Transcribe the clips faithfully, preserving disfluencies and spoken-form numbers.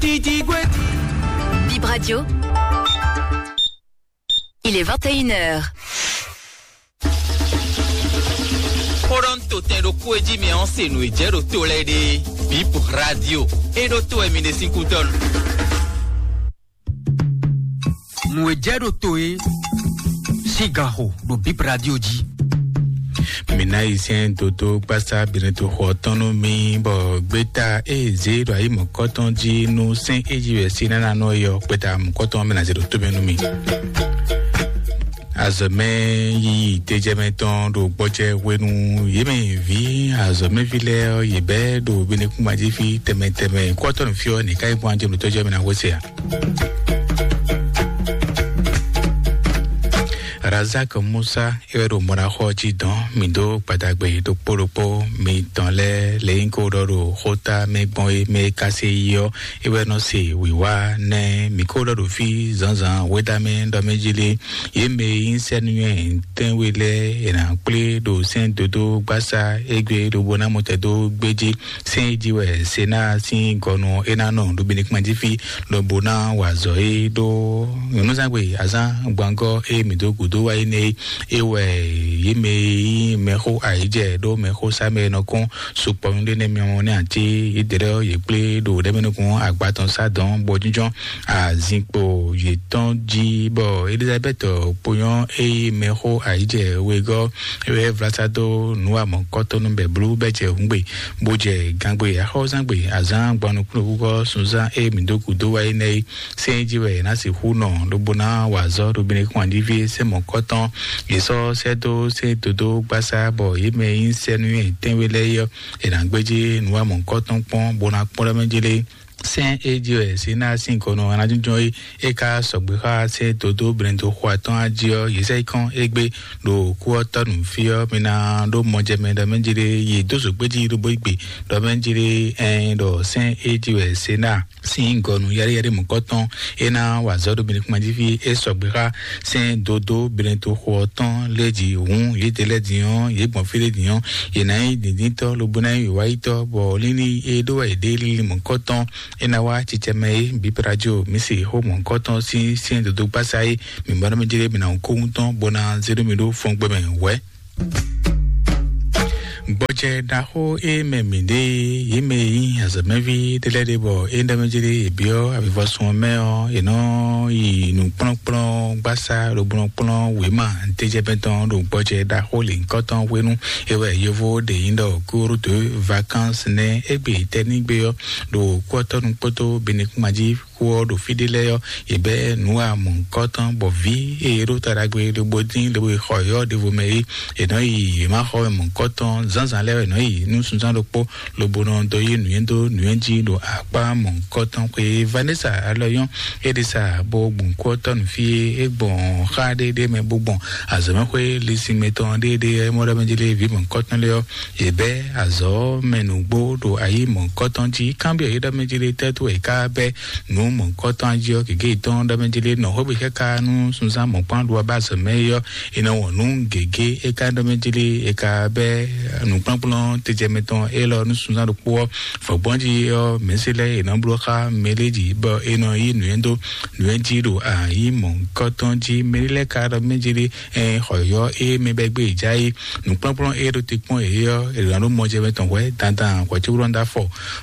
Bib Radio. Il est vingt et une heures. Xó ɖɔ ń to tɛn ɖokpó e jí mi ɔ́ se nǔ e jɛ ɖo to lɛ́ɛ ɖe. Bib Radio. É ɖó to wɛ mi ɖe sín kútɔ́nu. Nǔ e jɛ ɖo to é sín ganxo ɖo Bib Radio jí. Mǐ ná yi sɛ́n dodó gbásá Benɛto xɔ tɔn nú mì, bɔ gbéta e zě ɖo ayi mɔ̌kɔtɔn jí nú sɛ́n e jí wɛ sí nánánɔ é ɔ́, gbéta mɔ̌kɔtɔn mɛ ná zě ɖo tó mɛ nú mì. Azɔ̌mɛ yiyi tejɛmɛ tɔn ɖo gbɔjɛ hwenu yě mɛ vǐ azɔ̌mɛví lɛ́ɛ ɔ́, yě bɛ́ ɖo Benɛkúngbán jí fí tɛnmɛ tɛnmɛ. Kɔ́tɔ́nú fí ɔ́, nǐ ká yi bɔ́n ajé mǐtɔn jɛ mɛ ná hwesɛ a? Razak Musa é wɛ ɖo mɔɖaxɔ jí dɔn mǐ dó gbadagbe ɖokpó ɖokpó mitɔn lɛ́ɛ lě nyí kó ɖɔ ɖo xóta mɛ gbɔn é mɛ é ká sé yi ɔ́, é wɛ nɔ se wǐwá nɛ́ mǐ kó ɖɔ ɖo fí zǎnzǎn wědámɛ ɖɔ mɛ jí lé. Yě mɛ e nyí sɛ́núnywɛ́ tɛ́nwe lɛ́ɛ è nǎ kplé ɖo sɛ́n dodó gbásá égbé lobo ná mɔ tɛn dó gbéjí. Sɛ́n e jí wɛ Senáa sín gɔnu é ná nɔ ɖo Benɛkúngbán jí fí, lobo ná wa azɔ̌ é ɖó nyɔ̌nuzángbe azán gbangɔ́ e mǐ dó gǔdo wá é nɛ́ é. É wɛ yě mɛ e nyí mɛxó ayǐjɛ ɖó mɛxó sá mɛ e nɔ kɔn sukpɔ́ nú ɖé nɛ́ miamɔ nɛ́ ǎ cé yědɛ́ lɛ́ɛ ɔ́, yě kplé ɖo ɖɛ̌mɛnukun agba tɔn sá dɔ̌n bɔ jínjɔ́n azinkpo yětɔn jí, bɔ Elizabɛ́ti kponyɔ́ e nyí mɛxó ayǐjɛ wegɔ́ é wɛ vlá sá dó nǔ amɔ̌kɔ́tɔ́nú bɛ̌blú bɛ́ jɛ hǔngbe, bó jɛ gangbe axɔ́zangbe azǎn gban nukúnnú húgɔ́ sunzán e mǐ dó gǔdo wá é nɛ́ é. Sɛ́n jí wɛ è nǎ sixú nɔ lobo ná wa azɔ̌ ɖo Benɛkúngbán jí fí é sɛ́ mɔ̌kɔ́tɔn. Yě sɔ́ sɛ́ dó sɛ́n dodó gbásá bɔ yě mɛ e nyí sɛ́núnywɛ́ tɛ́nwe lɛ́ɛ é ɔ́, è nǎ gbéjé nǔ wa mɔ̌kɔ́tɔn kpɔ́n bó ná kpɔ́n ɖɔ mɛ jí lé. Sɛ́n e jí wɛ Senáa sín gɔnu ɔ́ ná jínjɔ́n é, é ka sɔgbe xá sɛ́n dodó blɛ́ndo xo atɔ́ɔ́n jí ɔ́, yě sɛ́ yi kɔn égbé ɖo kú ɔ́ tɔ́ nǔ fí ɔ́, mi ná ɖó mɔjɛmɛ ɖɔ mɛ jí lé, yě dó zǒgbéjí lobo yi gbe ɖɔ mɛ jí lé, ɛn ɖɔ sɛ́n e jí wɛ Senáa sín gɔnu yɛ́ɖéyɛ́ɖé mɔ̌kɔtɔn é ná wa azɔ̌ ɖo Benɛkúngbán jí fí é sɔgbe xá sɛ́n dodó Benɛto xo ɔ́ tɔn lɛ́ɛ jí hǔn yědɛɛ lɛ́ɛ din ɔ́, yě gbɔn fí ɖé din ɔ́, yě ná nyí dǐndíntɔ́ lobo ná nyí wǐwáyítɔ́, bɔ lílí e ɖó wɛ yě ɖe lílí mɔ̌kɔtɔn é ná wá cicɛ mɛ é. Bǐ Prajo mǐ se xó mɔ̌kɔtɔn sín sɛ́n dodó gbásá é, mǐ mɔ nú mì jlé mǐ ná kó wúntɔn bó ná zé nú mì ɖó fɔ́ngbɛ́mɛ wɛ̌. Gbɔjɛ ɖaxó e mɛ mǐ ɖe yě mɛ e nyí azɔ̌mɛví ɖé lɛ́ɛ ɖe bɔ é ɖɔ mɛ jlé è byɔ́ avivɔsun ɔ́ mɛ ɔ́, è nɔ yi nǔkplɔ́nkplɔ́n gbásá ɖokplɔ́nkplɔ́n wěma tejɛmɛ tɔn ɖo gbɔjɛ ɖaxó lěhunkɔtɔn hwenu. É wɛ yovo ɖe nyí ɖɔ cours de vacances nɛ́. Égbé tɛ́nígbe ɔ́ ɖo kú ɔ́ tɔ́ nukpótó Benɛkúngbán jí xó ɔ́ ɖo fí ɖé lɛ́ɛ ɔ́, yě bɛ́ nǔ wa mɔ̌hunkɔtɔn bɔ vǐ e è ɖó ta ɖagbe lobo dín lobo yi xɔ yɔ̌ ɖěvo mɛ é, è nɔ yi yě ma xɔ mɛ mɔ̌hunkɔtɔn. Zǎnzǎn lɛ́ɛ wɛ è nɔ yi nú sunzán ɖokpó lobo nɔ dó yí nǔnywɛ́ dó nǔnywɛ́ jí ɖo akpá mɔ̌hunkɔtɔn xwé. Vanessa Alɔyɔn é ɖi sa bó gbɔn kú ɔ́ tɔ́ nǔ fí é, é gbɔn xá ɖé ɖé mɛ bó gbɔn azɔ̌mɛxwé lisinmɛ tɔn ɖé ɖé mɔ ɖɔ mɛ jí lé vǐ mɔ̌hunkɔtɔn lɛ́ɛ ɔ́, yě bɛ́ azɔ̌ mɛ nǔgbó ɖo ayǐ mɔ̌hunkɔtɔn jí. Kanbyɔ́ yě ɖɔ mɛ jí lé tɛ́ tó è ká bɛ́ nǔ mɔ̌hunkɔtɔn jí ɔ́, gěgé yětɔn ɖɔ mɛ jí lé nɔ xwé gbe káká nú sunzán mɔ̌kpán ɖu ɔ́ ba azɔ̌ mɛ é ɔ́, è nɔ wɔn nǔ gěgé é ka ɖɔ mɛ jí lé è ka bɛ́ nǔkplɔ́nkplɔ́n tejɛmɛ tɔn élɔ́ nú sunzán ɖokpó ɔ́. Vɔ̌gbɔ́n jí ɔ́, mɛ̌si lɛ́ɛ è nɔ bló xá mɛɖé jí bɔ è nɔ yí nǔnywɛ́ dó nǔnywɛ́ jí ɖo ayǐ mɔ̌hunkɔtɔn jí. Mɛɖé lɛ́ɛ ka ɖɔ mɛ jí lé ɛ xɔ yɔ́ é mɛ bɛ́ gbé è já é nǔkplɔ́nkplɔ́n é ɖo te kpɔ́n yě ɔ́, è nɔ ɖó mɔjɛmɛ tɔn hwɛ̌ dandan hwɛ̌cóɖɔ ɖó afɔ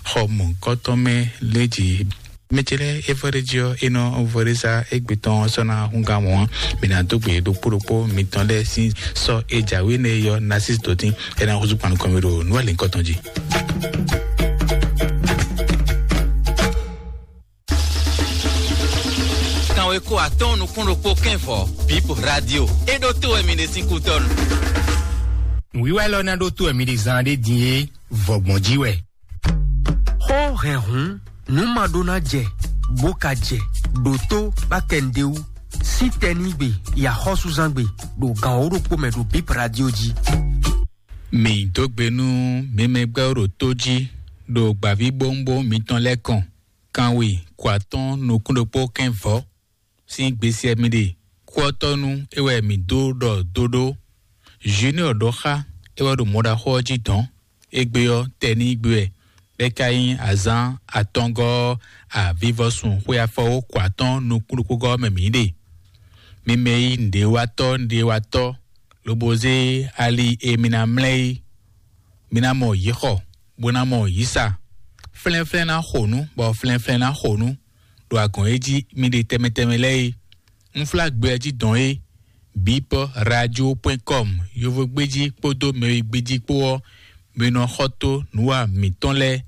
xɔ mɔ̌hunkɔtɔn mɛ lɛ́ɛ jí. Mɛ ce lɛ́ɛ é vɔ ɖé jí ɔ́, é nɔ vɔ ɖé sá égbé tɔn ɔ́ sɔ́ ná húngán mɔ̌ ɔ́, mǐ ná dó gbe ɖokpó ɖokpó mitɔn lɛ́ɛ sín sɔ́ e jǎwe nɛ́ é ɔ́ ná sí dǒtín, é ná húzú kpan nukɔn mì ɖo nǔ alǐnkɔtɔn jí. Kanweko atɔ́ɔ́n nukún ɖokpó kɛ́nvɔ, Bip Radio. É ɖó tó wɛ mi ɖe sín kútɔ́nu. Nǔwiwa élɔ́ ná ɖó tó wɛ mi ɖe zán ɖé din é, vɔ̌gbɔn jí wɛ. Xó hɛn hǔn, nǔ ma ɖó ná jɛ, bó ka jɛ, ɖǒtó bá kɛ nǔɖé wú. Sí tɛnígbe yi axɔ́súzángbe ɖo gan wǒ ɖokpó mɛ ɖo Bip Radio jí. Mǐ dó gbe nú mi mɛ gbɛ́ ɖo tó jí ɖo gbǎvíbówúnbówún mitɔn lɛ́ɛ kɔn. Kanwe kɔ atɔ́ɔ́n nukún ɖokpó kɛ́nvɔ́ sín gbesɛ mi ɖe. Kú ɔ́ tɔ́ nú é wɛ mǐ dó ɖɔ dó ɖó. Junior ɖɔ xá é wɛ ɖo mɔɖaxó ɔ́ jí dɔ̌n. Égbé ɔ́, tɛnígbe wɛ. bɔ é ka nyí azǎn atɔngɔ́ avivɔsun xwe afɔwókɔ atɔ́ɔ́n nukúnnukúngɔ́ mɛ mǐ ɖe. Mi mɛ e nyí nǔɖéwatɔ́ nǔɖéwatɔ́, lobo zé ali e mi ná mlɛ́ é, mi ná mɔ yǐ xɔ, bó ná mɔ yǐ sa. Flɛ́nflɛ́n ná xo nǔ, bɔ flɛ́nflɛ́n ná xo nǔ ɖo agɔ̌n e jí mi ɖe tɛnmɛ tɛnmɛ lɛ́ɛ é. Unflágbɛ ɔ́ jí dɔn é, bipɔ radio point com, yovogbéjí kpódó mɛwigbéjí kpó ɔ́, mi nɔ xɔ tó nǔwa mǐtɔn lɛ́ɛ.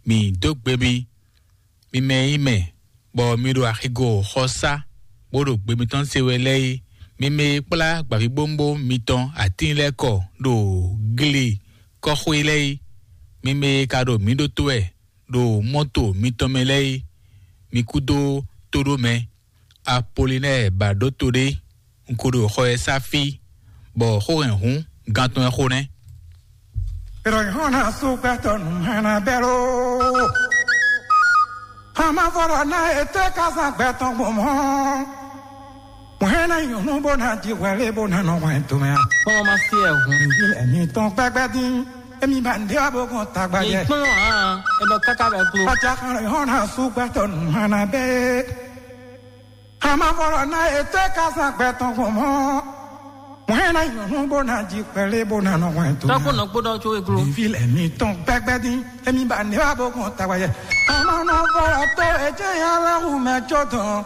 Mǐ dó gbe mi, mi mɛ e nyí mɛ, bɔ mi ɖo axigo xɔsá, bó ɖo gbe mitɔn se wɛ lɛ́ɛ é. Mi mɛ e kplá gbǎvíbówúnbówún mitɔn atín lɛ́ɛ kɔ ɖo gle kɔ́xwé lɛ́ɛ é. Mi mɛ e ka ɖo mǐ ɖótó wɛ ɖo mɔ́to mitɔn mɛ lɛ́ɛ é, mi kú dó tóɖó mɛ. Apolinɛ́ɛ ba ɖó to ɖé, un ko ɖo xɔ ɛ sá fí, bɔ xó hɛn hǔn gantɔ́ ɛ xo nɛ́. Ìròyìn hàn náà sún gbẹ́tọ̀ nù hàn náà bẹ́ẹ̀ ló. Hàn má fọ̀rọ̀ náà ètò ẹ̀ ká sàn gbẹ́tọ̀ gbọ̀n mọ́. Mɔ̌ hɛn ná nyɔ̌nu bó ná jí hwɛlé bó ná nɔ hwɛn tomɛ a? Kpɔ́n ma sí ẹ̀ hǔn. Ìbí ẹ̀mí tán gbɛgbẹ́ dín, émi bá ń dé wá bó kàn tagbá Ní jẹ. Kpɔ́n hàn ẹ lọ káká bɛ glo. Ọjà kan rẹ̀ hàn náà sún gbẹ́tọ̀ nù hàn náà bẹ́ẹ̀. Hàn má fọ̀rọ̀ náà ètò ẹ̀ ká sàn gbẹ́tọ̀ gbọ̀n mọ́. Mɔ̌ hɛn ná nyɔ̌nu bó ná jí hwɛlé bó ná nɔ hwɛn tomɛ a? Tɔ́kpó nɔ kpódɔ tso e glo. Ìbí ẹ̀mí tán gbɛgbẹ́ dín, émi bá ń dé wá bó kàn tagbá jẹ. Àmọ́ náà fọ̀rọ̀ tó ẹ̀jẹ̀ yẹn aláhùn mẹ́jọ tán.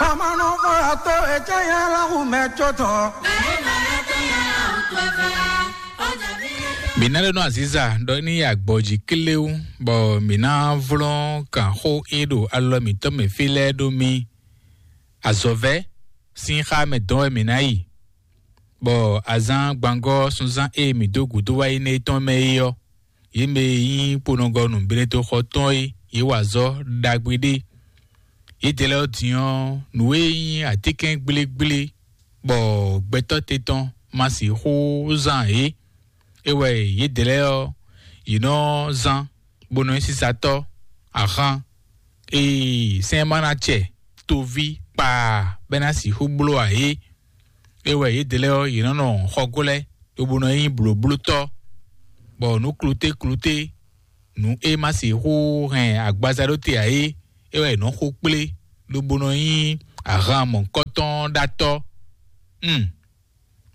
Amanɔfɔyatɔ etsɛ ya la xu mɛ tsɔ tɔn. Mǐ ná ɖe nɔ aziza ɖɔ ní yi agbɔ̌ jí kléwú, bɔ mǐ ná vlɔ́n kǎnxó e ɖo alɔ mǐtɔn mɛ fí lɛ́ɛ ɖó mì. Azɔ̌vɛ́ sín xá mɛ dɔn wɛ mǐ ná yi, bɔ azǎn gbangɔ́ sunzán e mǐ dó gǔdo wá yi nɛ́ tɔn mɛ é ɔ́, yě mɛ e nyí kponɔgɔnu Benetoxɔ tɔn é, yě wa azɔ̌ ɖagbe ɖé. Yědɛɛ lɛ́ɛ ɔ́ din ɔ́, nǔ e nyí atínkɛn gblégblé bɔ gbɛtɔ́ te tɔn ma sixú zán ǎ é. É wɛ yědɛɛ lɛ́ɛ ɔ́, yě nɔ zán, bó nɔ nyí sísatɔ́, ahan, ee, sɛ́n ma ná acɛ toví kpaa bɔ é ná sixú bló ǎ é. É wɛ yědɛɛ lɛ́ɛ ɔ́, yě nɔ nɔ xɔgó lɛ́ɛ, lobo nɔ nyí blǒblótɔ́, bɔ nǔ kluté kluté, nǔ e ma sixú hɛn agbaza ɖó te ǎ é, é wɛ yě nɔ xo kplé, lobo nɔ nyí ahan mɔ̌hunkɔtɔn ɖatɔ́. Hmm.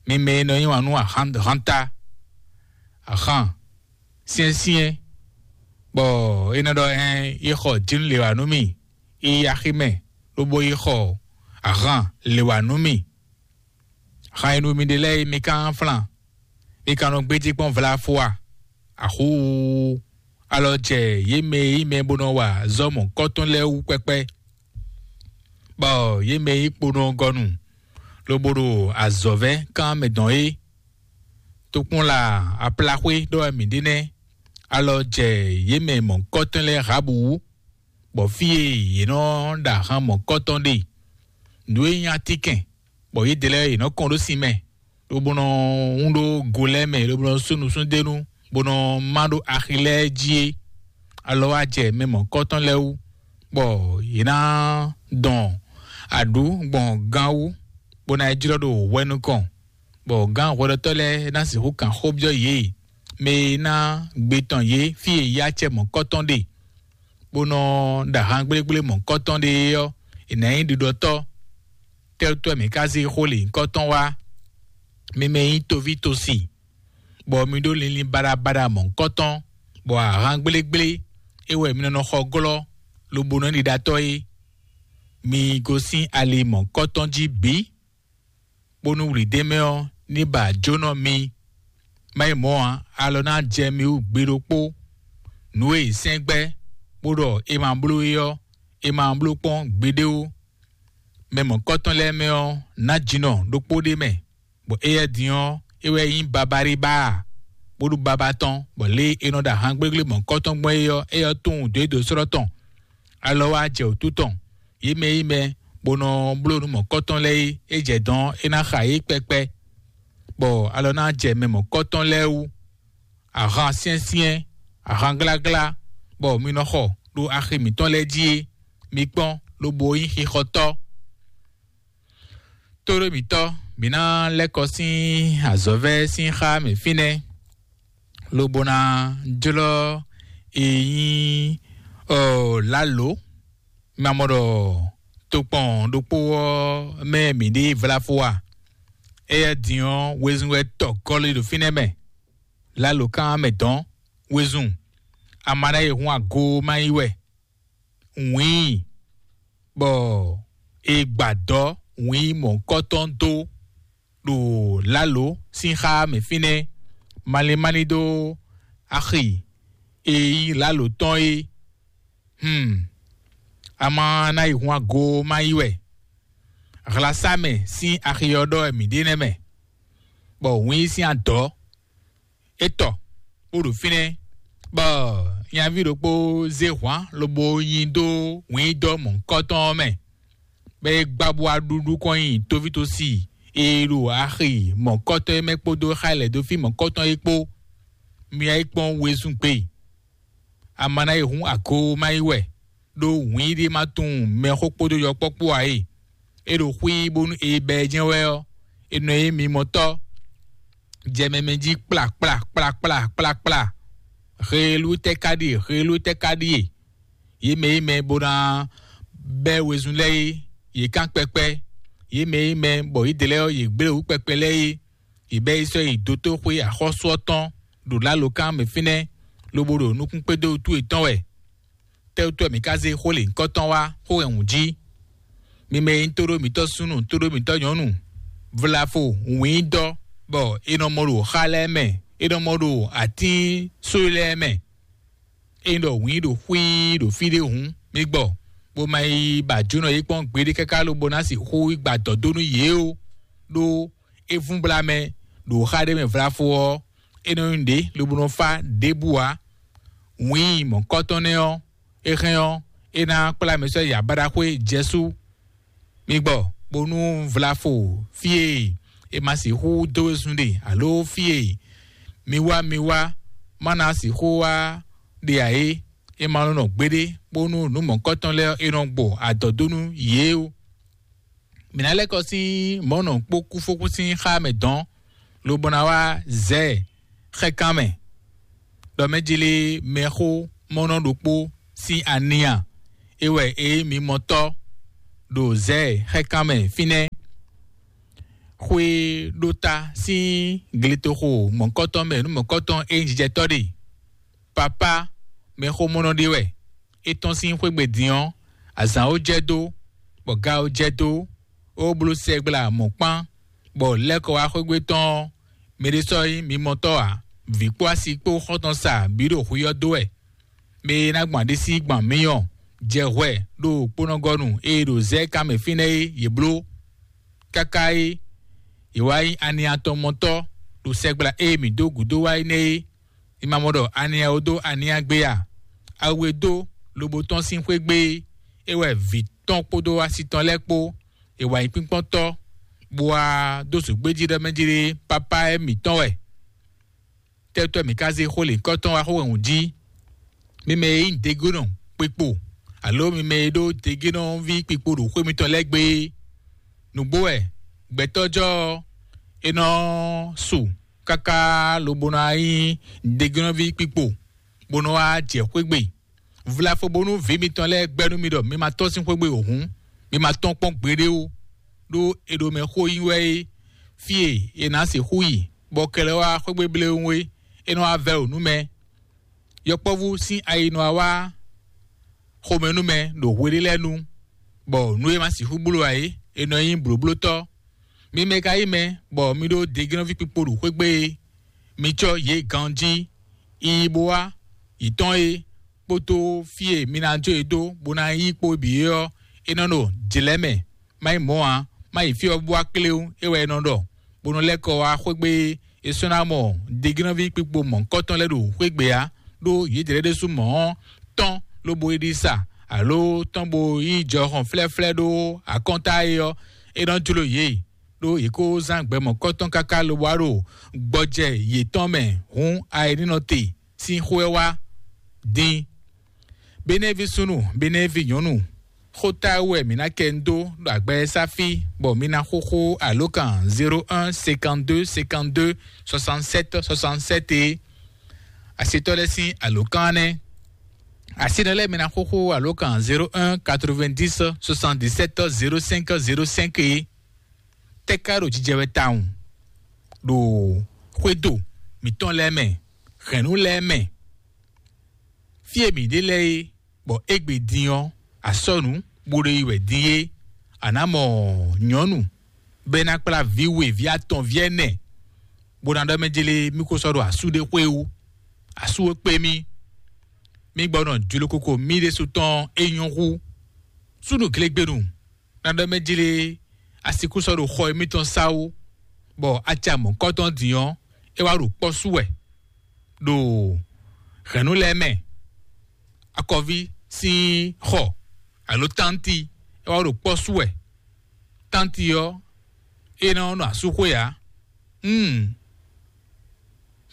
Mi mɛ e nɔ yí wǎn nú ahan hanta, ahan syɛ́nsyɛ́n, bɔ é nɔ ɖɔ hɛn yi xɔ jǐnú lě wǎ nú mì, yi aximɛ, lobo yi xɔ ahan lě wǎ nú mì. Xan e nú mi ɖe lɛ́ɛ é, mi ka nɔ flan, mi ka nɔ gbéjé kpɔ́n vlafo a? Axuu! Alɔ jɛ yě mɛ e nyí mɛ bó nɔ wa zɔ́ mɔ̌hunkɔtɔn lɛ́ɛ wú kpɛ́kpɛ́, bɔ yě mɛ e nyí kponɔgɔnu lobo ɖo azɔ̌vɛ́ kán mɛ dɔn é. Tokpɔnla aplaxwé ɖɔ wɛ mǐ ɖe nɛ́. Alɔ jɛ yě mɛ mɔ̌hunkɔtɔn lɛ́ɛ Rahabu wú, bɔ fí e yě nɔ ɖo ahan mɔ̌hunkɔtɔn ɖe, nǔ e nyí atínkɛn, bɔ yědɛɛ lɛ́ɛ yě nɔ kɔn ɖó sin mɛ, lobo nɔ wún ɖó go lɛ́ɛ mɛ, lobo nɔ sú nusúnnúɖénu, bó nɔ má ɖó axi lɛ́ɛ jí é. Alɔ wá jɛ mɛ mɔ̌hunkɔtɔn lɛ́ɛ wú, bɔ yě ná dɔn aɖǔ gbɔn gán wú, bó ná yi jlɔ́ ɖo hwɛ nukɔn, bɔ gǎn hwɛɖɔtɔ́ lɛ́ɛ ná sixú kan xó byɔ́ yě, mɛ e ná gbe tɔn yě fí e yí acɛ mɔ̌hunkɔtɔn ɖe, bó nɔ ɖo ahan gblégblé mɔ̌hunkɔtɔn ɖe é ɔ́, è nǎ nyí ɖiɖɔtɔ́. Tɛ́ wútu wɛ mǐ ka zé xó lěhunkɔtɔn wá? Mi mɛ e nyí toví tosi, bɔ mi ɖó linlin baɖabaɖa mɔ̌hunkɔtɔn, bɔ ahan gblégblé é wɛ mi nɔ nɔ xɔ glɔ́, lobo nɔ ɖi ɖatɔ́ é. Mi gosín ali mɔ̌hunkɔtɔn jí bǐ, bónú wlǐdémɛ ɔ́ ní ba jónɔ mi. Má nyí mɔ̌ ǎ, alɔ ná jɛ mi wú gbe ɖokpó. Nǔ e è sɛ́n gbɛ́, bó ɖɔ è ma bló é ɔ́, è ma bló kpɔ́n gbeɖé ó. Mɛ mɔ̌hunkɔtɔn lɛ́ɛ mɛ ɔ́, ná jǐnɔ ɖokpó ɖé mɛ, bɔ éyɛ́ din ɔ́, é wɛ nyí babaɖíba, bó ɖu baba tɔn, bɔ lě e è nɔ ɖo ahan gblégblé mɔ̌hunkɔtɔn gbɔn é ɔ́, éyɛ́ tunwun dǒ e dǒ slɔ́ tɔn. Alɔ wá jɛ wǔtu tɔn, yě mɛ e nyí mɛ, bó nɔ bló nǔ mɔ̌hunkɔtɔn lɛ́ɛ é, é jɛ dɔn é ná xa yě kpɛkpɛ, bɔ alɔ ná jɛ mɛ mɔ̌hunkɔtɔn lɛ́ɛ wú. Ahan syɛ́nsyɛ́n, ahan gláglá, bɔ mi nɔ xɔ ɖo axi mǐtɔn lɛ́ɛ jí é, mi kpɔ́n, lobo nyí xixɔtɔ́. Tóɖó mǐtɔn, Mǐ ná lɛ́ kɔ sín azɔ̌vɛ́ sín xá mɛ fínɛ́, lobo ná jlɔ́ e nyí ɔ lǎlǒ. Mi ma mɔ ɖɔ tokpɔn ɖokpó ɔ́ mɛ mǐ ɖe vlafo a? Éyɛ́ din ɔ́, wezun wɛ tɔ gɔ́lí ɖo fínɛ́ mɛ. Lǎlǒkan mɛ dɔn wezun. Ama ná yi hun ago má yí wɛ. Wǐin, bɔ è gbǎ dɔ̌ wǐin mɔ̌hunkɔtɔn dó ɖo lǎlǒ sín xá mɛ fínɛ́, malín malín dó axi e nyí lǎlǒ tɔn é. Hmm. A ma ná yi hun ago má yí wɛ. Hlasámɛ sín axi ɔ́ ɖɔ wɛ mǐ ɖe nɛ́ mɛ, bɔ wǐin sín adɔ̌ é tɔ bó ɖo fínɛ́, bɔ nyaví ɖokpó zé hwǎn lobo nyi dó wǐndɔ́ mɔ̌hunkɔtɔn ɔ́ mɛ, bɔ é gbá bó wá ɖúɖú kɔn nyi tovítɔ́si e ɖo axi mɔ̌hunkɔtɔn é mɛ kpódó xá lɛ̌ dó fí mɔ̌hunkɔtɔn é kpó. Myá é kpɔ́n wezun gbe. Ama ná yi hun ago má yí wɛ, ɖó wǐin ɖé ma tunwun mɛxó kpódó yɔkpɔ́kpó ǎ e. É ɖo xwí bónú è bɛ ɛ jɛ́n wɛ ɔ́, è nɔ nyí mimɔtɔ́. Jɛ mɛ mɛ jí kplá kplá kplá kplá kplá kplá. Heelú tɛ́ ka ɖíe, heelú tɛ́ ka ɖíe? Yě mɛ e mɛ bó ná bɛ́ wezun lɛ́ɛ é, yě kán kpɛkpɛ́. Yě mɛ e mɛ bɔ yě dě lɛ́ɛ ɔ́, yě gblé wǔ kpɛkpɛ lɛ́ɛ é, yě bɛ́ yi sɔ́ yi dotóxwé axɔ́sú ɔ́ tɔn ɖo lǎlǒkan mɛ fínɛ́, lobo ɖo nukún kpédó wútu yětɔn wɛ. Tɛ́wútu wɛ mǐ ka zé xó lě nyǐkɔ tɔn wá xó hɛn wǔ jí? Mi mɛ e nyí tóɖó mǐtɔn súnnu, tóɖó mǐtɔn nyɔ̌nu, vlafo wǐndɔ́, bɔ è nɔ mɔ ɖo xa lɛ́ɛ mɛ, è nɔ mɔ ɖo atín sóyi lɛ́ɛ mɛ. Ényí ɖɔ wǐin ɖo xwíí ɖo fí ɖé hǔn, mi gbɔ, bó ma yi ba jǒnɔ yě kpɔ́n gbeɖé káká lobo ná sixú yi gba dɔ̌ dó nú yě ó, ɖó é vún blá mɛ ɖo xá ɖé mɛ vlafo ɔ́, é nɔ nyí nǔɖé lobo nɔ fá ɖěbǔ ǎ. Wǐin mɔ̌kɔ́tɔn nɛ́ ɔ́, é hɛn ɔ́, é ná kplá mɛ sɔ́ yi abáɖaxwé Jɛsú. Mi gbɔ, bónú vlafo fí e è ma sixú dó wezun ɖe, alo fí e mi wá mi wá má ná sixú wá ɖe ǎ é, é ma nɔ nɔ gbeɖé, bónú nǔ mɔ̌kɔ́tɔn lɛ́ɛ é nɔ gbɔ adɔ̌ dó nú yě ó. Mǐ ná lɛ́ kɔ sín mɔ̌ nɔ kpó kúfókú sín xá mɛ dɔ̌n, lobo ná wá zɛ ɛ xɛkán mɛ, ɖɔ mɛ jlé mɛxó mɔnɔ ɖokpó sín ania é wɛ é mimɔtɔ́ ɖo zɛ xɛkán mɛ fínɛ́. Xwé ɖó ta sín gletoxo mɔ̌kɔtɔn mɛ nú mɔ̌kɔtɔn é nyí jijɛtɔ́ ɖe. Papá mɛxó mɔnɔ ɖé wɛ. É tɔ́n sín xwé gbe din ɔ́, azǎn ó jɛ dó, bɔ ga ó jɛ dó, ó bló sɛgbla mɔ̌kpán, bɔ lɛ́ kɔ wá xwé gbe tɔn ɔ́, mɛ ɖé sɔ́ nyí mimɔtɔ́ ǎ. Vǐ kpó asi kpó xɔ́ntɔn sa bǐ ɖo hwi ɔ́ dó wɛ. Mɛ e ná gbɔn aɖisí gbɔn amyɔ jɛ hwɛ ɖo kponɔgɔnu e ɖo zɛ̌ kan mɛ fínɛ́ é, yě bló. Káká é, yě wá nyí aniatɔmɔtɔ́ ɖo sɛgbla e mǐ dó gǔdo wá é nɛ́ é. Mi ma mɔ ɖɔ ania ó dó ania gbé a? Awu e dó lobo tɔ́n sín xwé gbé é, é wɛ vǐ tɔn kpódó asi tɔn lɛ́ɛ kpó, è wǎ nyí kpínkpɔ́ntɔ́, bó wá dó zǒgbéjí ɖɔ mɛ jí ɖé pápá é mǐtɔn wɛ. Tɛ́tɔ́ mǐ ka zé xó lěkɔ́tɔn wá xó wɛn wǔ jí? Mi mɛ e nyí degónɔ kpekpo, alo mi mɛ e ɖó degénɔví kpikpo ɖo xwé mitɔn lɛ́ɛ gbé é. Nǔgbó wɛ, gbɛtɔ́jɔ́ ɔ́, é nɔ su káká lobo ná nyí degénɔví kpikpo, bó nɔ wá jɛ xwé gbe. Vlafo bónú vǐ mitɔn lɛ́ɛ gbɛ́ nú mi ɖɔ mi ma tɔ́n sín xwé gbe o hǔn, mi ma tɔ́n kpɔ́n gbeɖé ó, ɖó è ɖo mɛ xó yí wɛ é. Fí e è nǎ sixú yi, bɔ kɛlɛ wá xwé gbe bléwún é, é nɔ wá vɛ́ wǔ nú mɛ. Yɔkpɔ́vú sín ayi nɔ wá wá xomɛ nú mɛ ɖo hweɖé lɛ́ɛ nu, bɔ nǔ e ma sixú bló ǎ é, è nɔ nyí blǒblótɔ́. Mi mɛ ka nyí mɛ, bɔ mi ɖó deglɔ́ví kpikpo ɖo xwé gbe é, mi cɔ́ yě ganjí, yi bó wá, yi tɔn é, kpódó fí e mi ná jó yě dó, bó ná yí kpó bǐ é ɔ́, é nɔ ɖo jlɛ̌ mɛ, má nyí mɔ̌ ǎ, má yi fí ɔ́ bó wá kléwún, é wɛ é nɔ ɖɔ, bó nɔ lɛ́ kɔ wá xwé gbe é. È sɔ́ ná mɔ deglɔ́ví kpikpo mɔ̌hunkɔtɔn lɛ́ɛ ɖo xwé gbe ǎ, ɖó yědɛɛ ɖésú mɔ̌ ɔ́ tɔ́n lobo yi ɖi sa, alo tɔ́n bo yí jɔhɔn flɛ́flɛ́ ɖó akɔ́nta é ɔ́, é nɔ jló yě, ɖó yě kó zán gbɛ mɔ̌hunkɔtɔn káká lobo wá ɖo gbɔjɛ yětɔn mɛ hǔn ayǐnínɔ te sín xó ɔ́ wá dín. Benɛ́ví súnnu, benɛ́ví nyɔ̌nu, Xóta wɛ mǐ ná kɛ ń dó ɖo agbɛ́sáfí, bɔ mi ná xóxó alǒkan zéro un cinquante-deux cinquante-deux soixante-sept soixante-sept é. Asitɔ́ lɛ́ɛ sín alǒkan nɛ́. Asinɔ lɛ́ɛ mi ná xóxó alǒkan zéro un quatre-vingt-dix soixante-dix-sept zéro cinq zéro cinq é. Tɛ́ ka ɖo jijɛ wɛ tawun ɖo xwédo mǐtɔn lɛ́ɛ mɛ, hɛ̌nnu lɛ́ɛ mɛ, fí e mǐ ɖe lɛ́ɛ é, bɔ égbé din ɔ́, asɔ́nǔ bó ɖo yi wɛ din é, a nǎ mɔ nyɔ̌nu bɔ é ná kplá vǐ we, vǐ atɔn, vǐ ɛnɛ, bó ná ɖɔ mɛ jlé mí ko sɔ́ ɖo asú ɖé xwé wú. Asú e kpé mì, mí gbɔ nɔ jló koko mì ɖésú tɔn é nyɔ́ hú. Súnnu glégbénu ná ɖɔ mɛ jlé a sixú sɔ́ ɖo xɔ émítɔn sá wú, bɔ acɛ mɔ̌kɔ́tɔn din ɔ́, é wá ɖo kpɔ́ sú wɛ ɖo hɛ̌nnu lɛ́ɛ mɛ. Akɔví sín xɔ alo tánti, é wá ɖo kpɔ́ sú wɛ. Tánti ɔ́, é nɔ nɔ asúxwé ǎ. Hmm.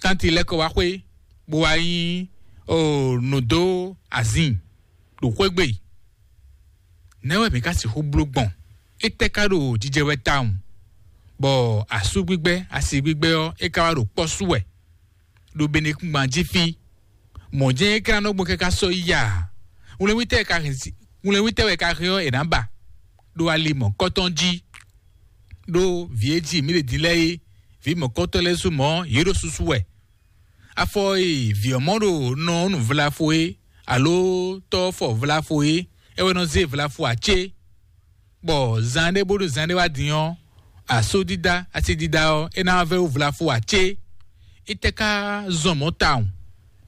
Tánti lɛ́ kɔ wá xwé, bó wá nyí o nǔ dó azin ɖo xwé gbe. Nɛ̌ wɛ mǐ ka sixú bló gbɔn? Étɛ́ ka ɖo jijɛ wɛ tawun, bɔ asú gbígbɛ́, asi gbígbɛ́ ɔ́, é ka wá ɖo kpɔ́ sú wɛ ɖo benekúngban jí fí. Mɔ̌ jɛ́n é ka nɔ gbɔn káká sɔ́ yi a? Wlɛ́nwítɛ́ wɛ ka hɛn si- wlɛ́nwítɛ́ wɛ ka hɛn ɔ́, è nǎ ba ɖo ali mɔ̌kɔ́tɔn jí. Ɖó vǐ e ji mǐ ɖe din lɛ́ɛ é, vǐ mɔ̌kɔ́tɔn lɛ́ɛ sú mɔ̌ yě ɖo susu wɛ. Afɔ e vǐ ɔ́ mɔ ɖo nɔ ɔ́ nu vlafo é, alo tɔ́ ɔ́ fɔ vlafo é, é wɛ nɔ zé vlafo ǎ cé? Bɔ zan ɖé bónú zan ɖé wá din ɔ́, asúdídá, asidídá ɔ́, é ná vɛ́ wú vlafo ǎ cé? Étɛ́ ka zɔn mɔ̌ tawun?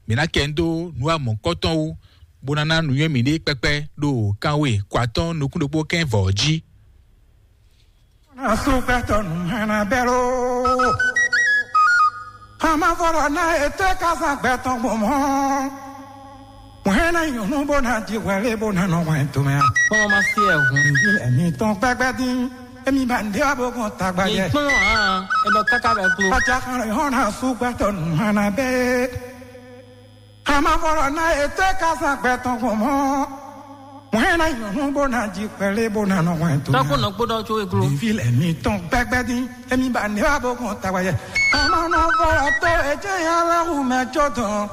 Mǐ ná kɛ ń dó nǔ wa mɔ̌kɔ́tɔn wú, bó ná ná nǔnywɛ́ mǐɖée kpɛkpɛ ɖo kanwe kɔ atɔ́ɔ́n nukún ɖokpó kɛ́n vɔ̌ ɔ́ jí. Asúgbɛtɔ nǔ hɛn ná bɛ́ ló. Amavɔlɔ ná ètò kásán gbɛtɔn gbɔn mɔ. Mɔ̌ é ná nyɔ̌nu bó ná jí hwɛlé bó ná nɔ hwɛn tomɛ a? Kpɔ́n ma se ɛ hun. Nǔví lɛ mi tɔn gbɛgbɛ dín. Emi ba ǹdé wá bó gɔn tagba Mi jɛ. Kpɔ́n hàn, ẹ nɔ káká bɛ klo. Pàtàkì hàn ná súgbàtọ̀ nù hàn ná bẹ́ẹ̀. Amavɔlɔ ná ètò kásán gbɛtɔn gbɔn mɔ. Mɔ̌ é ná nyɔ̌nu bó ná jí hwɛlé bó ná nɔ hwɛn tomɛ a? Tɔ́kpó nɔ kpódɔ tso e glo. Nǔví lɛ mi tɔn gbɛgbɛ dín. Emi ba ǹdé wá bó gɔn tagba jɛ. Amavɔlɔ tó ètè yà lɛ hù mɛ jó dɔn.